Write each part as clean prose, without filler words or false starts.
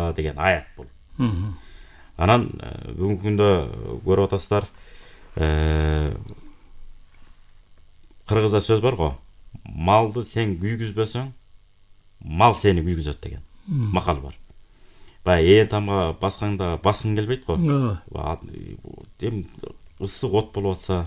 алла деген аят бул. Анан бүгүнкү күндө көрүп атасыздар, кыргызда сөз бар го. Малды сен күйгүзбөсөң, мал сени күйгүзөт деген макал бар. Баягы ээн тамга басканда баскың келбейт го. Эми ысык от болуп атса,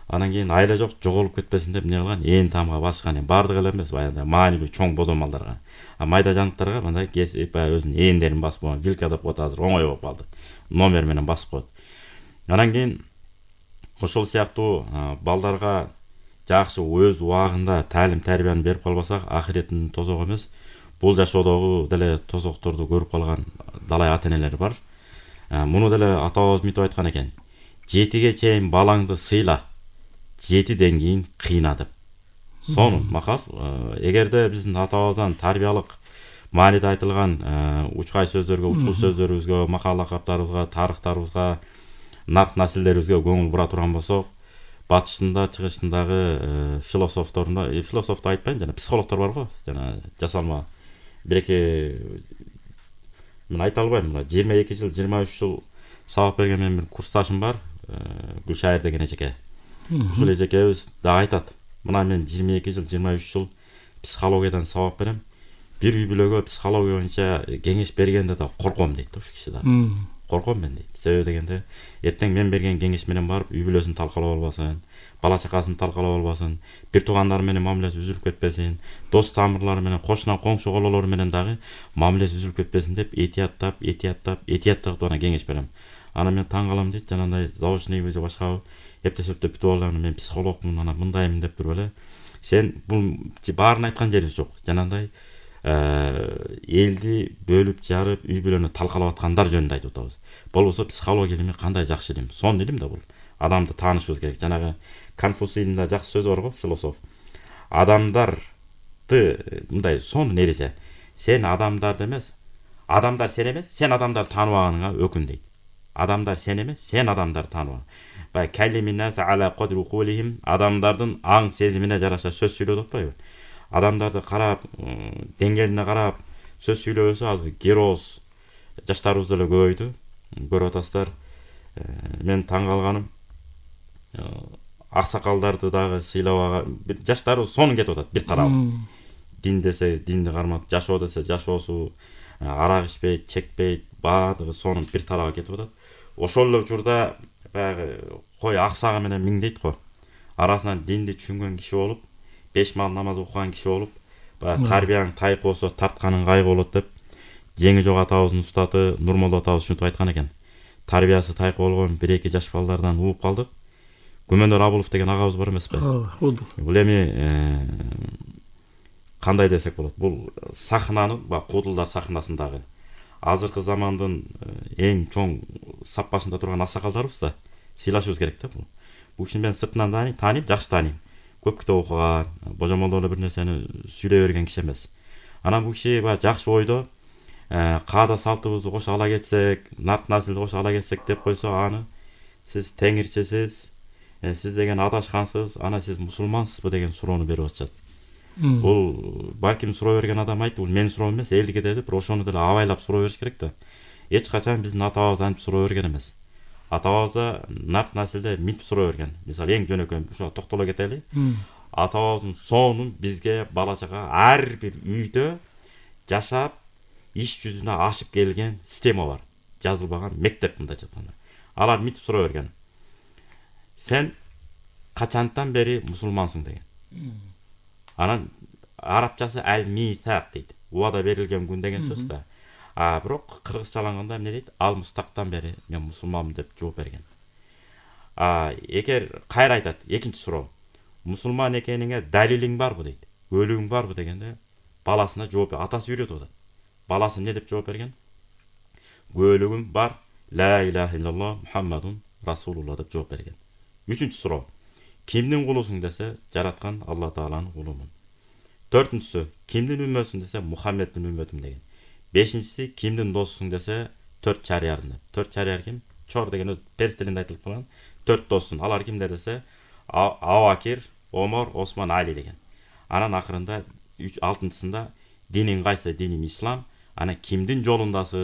анан кийин айла жок жоголуп кетпесин деп эмне кылган? Ээн тамга баскан. Бардыгы эле эмес, баягы маанилүү чоң бодо малдарга. Майда жаныктарга мындай баягы өзүнүн эендерин басып койгон. Вилка деп коет азыр, оңой болуп калды. Номер менен басып коет. Анан кийин ошол сыяктуу балдарга жакшы өз убагында таалим тарбияны берип калбасак, ахиреттин тозогу эмес, бул жашоодогу деле тозокторду көрүп калган далай ата-энелер бар. Муну деле атабыз мынтип айткан экен. 7ге чейин балаңды сыйла, 7ден кийин кыйна деп. Сонун макал. Эгерде биздин атабыздан тарбиялык мааниде айтылган учкай сөздөргө, учкул сөздөрүбүзгө, макал лакаптарыбызга, тарыхтарыбызга, нарк насилдерибизге көңүл бура турган болсок, батышында, чыгышындагы философторунда, философту айтпайм, жана психологдор бар го, жана жасалма бир-эки мен айта албайм, 22 жыл, 23 жыл сабак берген менин бир курсташым бар, Гүлшайыр деген эжеке. Ушул эжекебиз да айтат. Мына мен 22 жыл, 23 жыл психологиядан сабак берем. Бир үй бүлөгө психология боюнча кеңеш бергенде да корком дейт ушу киши да. Корком мен дейт. Себеби дегенде, эртең мен берген кеңеш менен барып үй бүлөсүн талкалап албасын, бала чакасын талкалап албасын, бир туугандары менен мамилеси үзүлүп кетпесин, дос тамырлары менен, кошуна коңшу кололору менен дагы мамилеси үзүлүп кетпесин деп этияттап гана кеңеш берем. Анан мен таң калам дейт, жанагындай заочныйбы же башкабы эптешип бүтүп алам, мен психологмун, анан мындаймын деп туруп эле. Сен бул баарын айткан жерибиз жок. Жанагындай элди бөлүп жарып, үй бүлөнү талкалап аткандар жөнүндө айтып атабыз. Болбосо психология илими кандай жакшы илим. Сонун илим да бул. Адамды таанышыбыз керек. Жанагы Конфуцийдин да жакшы сөзү бар го, философ. Адамдарды мындай сонун эреже. Сен адамдарды эмес, адамдар сен эмес, сен адамдарды тааныбаганыңа өкүн дейт. Адамдар сен эмес, сен адамдарды тааныбагаң. Баягы калиминнас ала кадри укулихим, адамдардын аң сезимине жараша сөз сүйлөп атпайбы? Адамдарды карап, деңгээлине карап сөз сүйлөбөсө, азыр героз жаштарыбыз деле көбөйдү. Көрүп атасыздар. Мен таң калганым, аксакалдарды дагы сыйлабаган жаштарыбыз сонун кетип атат бир тарабы. Дин десе динди кармап, жашоо десе жашоосу, арак ичпейт, чекпейт, баардыгы сонун бир тарабы кетип атат. Ошол эле учурда баягы кой аксагы менен миңдейт го. Арасынан динди түшүнгөн киши болуп, 5 мал намаз окуган киши болуп, баягы тарбияң тайып болсо тартканың кайгы болот деп Жеңи жок атабыздын устаты Нурмолдо атабыз ушинтип айткан экен. Тарбиясы тайкы болгон 1-2 жаш балдардан ууп калдык. Күмөнөр Абулов деген агабыз бар эмеспи? Бул эми кандай десек болот? Бул сахнанын, Куудулдар сахнасындагы азыркы замандын эң чоң сап башында турган аксакалдарыбыз да. Сыйлашыбыз керек да бул. Бул кишини мен сыртынан тааныйм, жакшы тааныйм. Көп китеп окуган, божомолдо бир нерсени сүйлөй берген киши эмес. Анан бул киши жакшы ойдо каада салтыбызды кошо ала кетсек, нарк насилди кошо ала кетсек деп койсо, аны сиз теңирчесиз, сиз деген адашкансыз, ана сиз мусулмансызбы деген суроону берип атышат. Бул балким суроо берген адам айтты, бул менин суроом эмес, элдики деп, ошону деле абайлап суроо бериш керек да. Эч качан биздин атабыз антип суроо берген эмес. Атабыз нарк насилде мынтип суроо берген. Мисалы эң жөнөкөй ушуга токтоло кетели. Атабыздын сонун бизге бала чага ар бир үйдө жашап иш жүзүнө ашып келген система бар. Жазылбаган мектеп мындайча айтканда. Алар мынтип суроо берген. Сен качантан бери мусулмансың деген. Анан арабчасы ал-митак дейт. Убада берилген күн деген сөз да. Бирок кыргызчаланганда эмне дейт? Ал мустактан бери мен мусулманмын деп жооп берген. Эгер кайра айтат, экинчи суроо. Мусулман экениңе далилиң барбы дейт. Өлүгүң барбы дегенде баласына жооп, атасы үйрөтүп атат. Баласы эмне деп жооп берген? Өлүгүм бар, ла илаха иллаллах Мухаммадун Расулулла деп жооп берген. Үчүнчү суроо. Кимдин кулусуң десе, жараткан Алла Тааланын кулумун. Төртүнчүсү, кимдин үммөтүсүң десе, Мухаммеддин үммөтүм деген. Бешинчиси, кимдин досусуң десе, 4 чарыярын. 4 чарыяр ким? Чор деген перс тилинде айтылып калган 4 досун. Алар кимдер десе, Абубакир, Омар, Осман, Али деген. Анан акырында 6-алтынчысында диниң кайсы? Диним ислам. Ана кимдин жолундасыз?